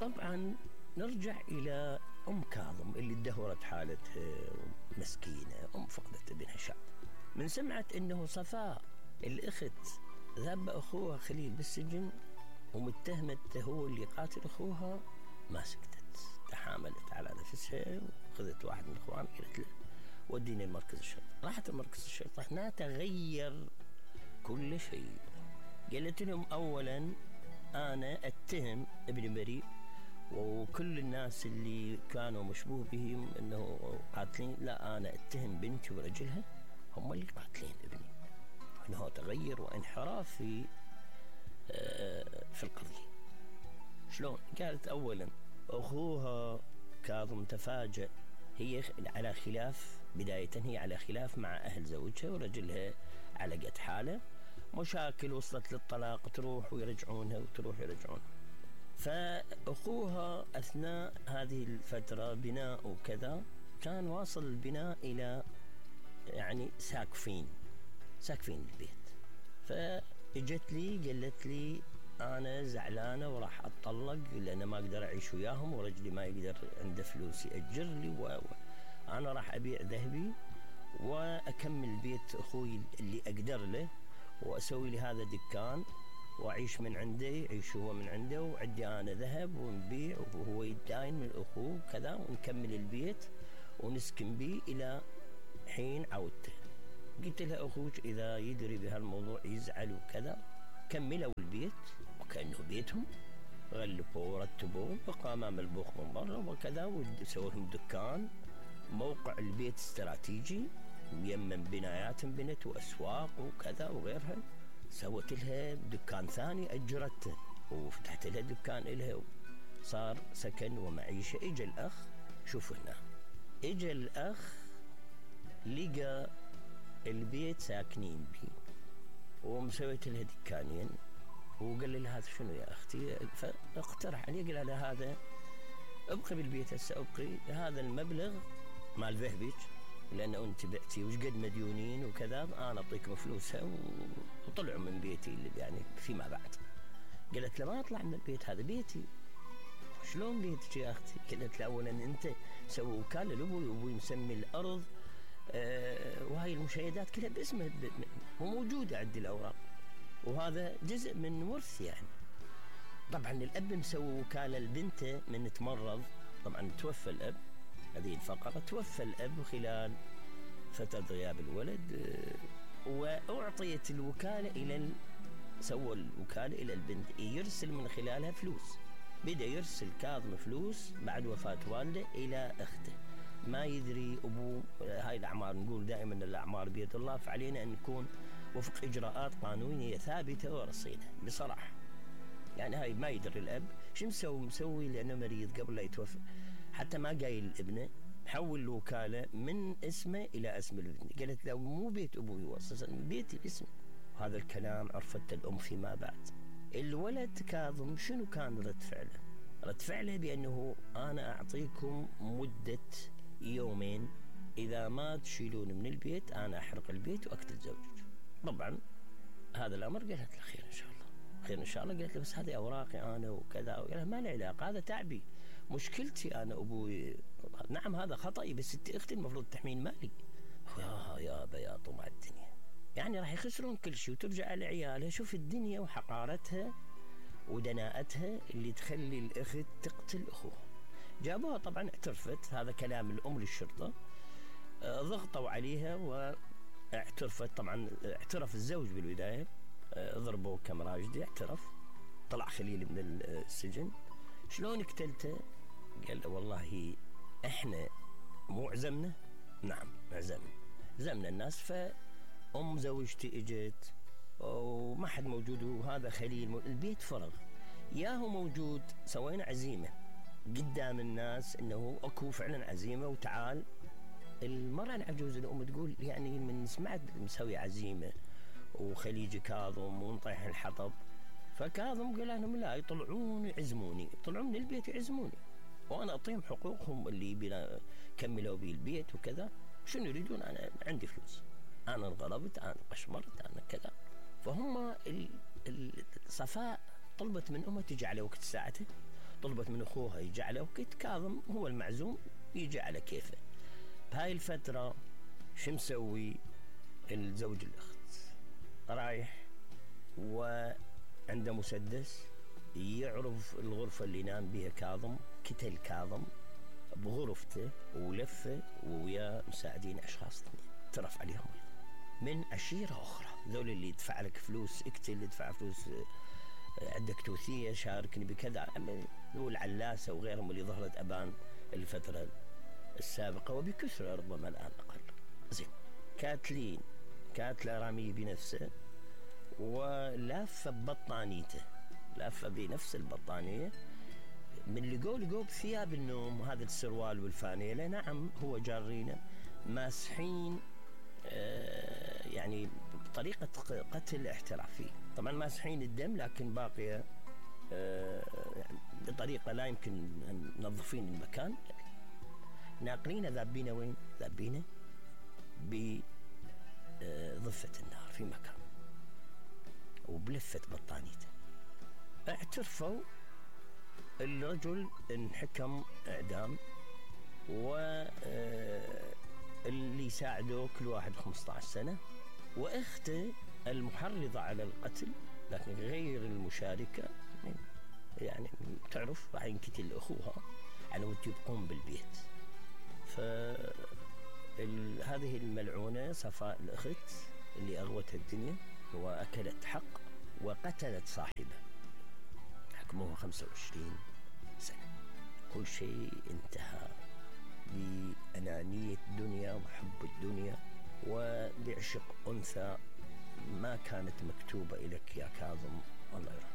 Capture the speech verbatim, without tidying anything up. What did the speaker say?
طبعا نرجع إلى أم كاظم اللي ادهورت حالتها مسكينة، أم فقدت ابنها شاب. من سمعت أنه صفاء الأخت ذاب أخوها خليل بالسجن ومتهمته هو اللي قاتل أخوها، ما سكتت، تحاملت على نفسها وخذت واحد من أخوانها قالت له وديني المركز الشرطة. راحت المركز الشرطة، هنا تغير كل شيء. قالت لهم أولا أنا أتهم ابن بريء وكل الناس اللي كانوا مشبوه بهم أنه قاتلين، لا أنا أتهم بنتي ورجلها هم اللي قاتلين ابني. أنه تغير وانحراف في في القضية. شلون؟ قالت أولا أخوها كاظم تفاجأ، هي على خلاف بداية، هي على خلاف مع أهل زوجها ورجلها على قد حاله، مشاكل وصلت للطلاق، تروح ويرجعونها وتروح ويرجعونها. فأخوها أثناء هذه الفترة بناء وكذا كان واصل البناء إلى يعني ساقفين ساقفين البيت. فاجت لي قالت لي أنا زعلانة وراح أتطلق لأن ما أقدر أعيش وياهم ورجلي ما يقدر عنده فلوس يأجر لي، وأنا راح أبيع ذهبي وأكمل بيت أخوي اللي أقدر له وأسوي لي هذا دكان وأعيش من عنده، يعيش هو من عنده وعندي أنا ذهب ونبيع وهو يداين من أخوه كذا ونكمل البيت ونسكن به إلى حين عودته. قلت لها أخوك إذا يدري بهالموضوع يزعل وكذا. كملوا البيت وكأنه بيتهم، غلفوا ورتبوه، بقى أمام البوخ من برا وكذا، وسووا لهم دكان. موقع البيت استراتيجي يمن بنايات بنت وأسواق وكذا وغيرها. سوت لها دكان ثاني أجرته وفتحت لها دكان إلها، صار سكن ومعيشة. إجا الأخ، شوفوا هنا، إجا الأخ لقى البيت ساكنين به ومسويت لها دكانين وقال لي هذا شنو يا أختي؟ فاقترح علي، قال لها هذا ابقي بالبيت هسه، ابقي هذا المبلغ مال ذهبك لأن أنت بعتي وش قد مديونين وكذا، أنا أعطيكم فلوسها. وطلعوا من بيتي اللي يعني فيما بعد. قالت له ما أطلع من البيت، هذا بيتي. شلون بيتك يا أختي؟ قالت له أولا أنت سووا وكالة لأبوي وأبوي مسمي الأرض أه وهاي المشاهدات كلها باسمه وموجودة عندي الأوراق، وهذا جزء من ورث يعني. طبعا الأب مسوي وكالة لبنته من تمرض، طبعا توفى الأب، هذه الفقرة، توفى الأب خلال فترة غياب الولد، وأعطيت الوكالة إلى سوى الوكالة إلى البنت يرسل من خلالها فلوس. بدأ يرسل كاظم فلوس بعد وفاة والده إلى أخته، ما يدري أبوه. هاي الأعمار نقول دائما الأعمار بيد الله، فعلينا أن نكون وفق إجراءات قانونية ثابتة ورصينة بصراحة. يعني هاي ما يدري الأب شو مسوي مسوي لأنه مريض قبل لا يتوفى، حتى ما قايل ابنه، حول الوكالة من اسمه إلى اسم الابن. قالت له مو بيت أبوي، هو أساسا بيتي باسمه. هذا الكلام عرفت الأم فيما بعد. الولد كاظم شنو كان رد فعله؟ رد فعله بأنه أنا أعطيكم مدة يومين، إذا ما تشيلون من البيت أنا أحرق البيت وأقتل زوجك. طبعا هذا الأمر قالت له خير إن شاء الله، خير إن شاء الله. قالت له بس هذه أوراقي أنا وكذا. قال له ما له علاقة، هذا تعبي، مشكلتي أنا أبوي. نعم هذا خطأي، بس أنت أختي المفروض تحمين مالي. يا يابا يا طمع الدنيا، يعني راح يخسرون كل شيء وترجع على عيالها. شوف الدنيا وحقارتها ودناءتها اللي تخلي الأخت تقتل أخوها. جابوها طبعا اعترفت، هذا كلام الأم للشرطة. آه ضغطوا عليها واعترفت. طبعا اعترف الزوج بالبداية، آه ضربوه كم راجدي، اعترف. طلع خليل من السجن. شلون قتلته؟ قال والله احنا مو عزمنا. نعم عزمنا، عزمنا الناس. فأم زوجتي اجت وما حد موجود، وهذا خليل البيت فرغ، ياهو موجود. سوينا عزيمة قدام الناس انه اكو فعلا عزيمة وتعال. المرأة العجوز الام تقول يعني من سمعت مسوي عزيمة وخليج كاظم ونطيح الحطب. فكاظم قال لهم لا، يطلعون يعزموني، يطلعون من البيت يعزموني وانا اعطيهم حقوقهم اللي بنا كملوا بي البيت وكذا. شنو يريدون؟ انا عندي فلوس، انا انغلبت، انا قشمرت، انا كذا. فهم صفاء طلبت من امها تجي على وقت ساعتها، طلبت من أخوها يجي على وقت، كاظم هو المعزوم يجي على كيفه. بهاي الفترة شو مسوي الزوج الأخت؟ رايح وعنده مسدس، يعرف الغرفة اللي نام بها كاظم، كتل كاظم بغرفته ولفه ويا مساعدين أشخاص ترف عليهم من عشيرة أخرى. ذول اللي يدفع لك فلوس اقتل، يدفع فلوس عندك توثية شاركني بكذا، والعلاسة وغيرهم اللي ظهرت أبان الفترة السابقة وبكثرة ربما الآن أقل. زين، كاتلين كاتلة رامي بنفسه ولافة ببطانيته، لافة بنفس البطانية. من لقوا لقوا بثياب النوم، هذا السروال والفانيلة، نعم هو جارينه ماسحين آه يعني بطريقة قتل احترافية. طبعا ماسحين الدم لكن باقية آه يعني بطريقة لا يمكن أن ننظفين المكان. ناقلين ذابينه وين؟ ذابينه بضفة النار في مكان وبلفة بطانيته. اعترفوا الرجل انحكم اعدام، واللي يساعدوه كل واحد خمسة عشر سنة، واخته المحرضة على القتل لكن غير المشاركة يعني تعرف راح ينقتل اخوها على ود يبقون بالبيت. فهذه الملعونة صفاء الأخت اللي أغوتها الدنيا وأكلت حق وقتلت صاحبه، حكموها خمسة وعشرين سنة. كل شيء انتهى بأنانية الدنيا وحب الدنيا وبعشق أنثى ما كانت مكتوبة إليك يا كاظم. الله يرحمه.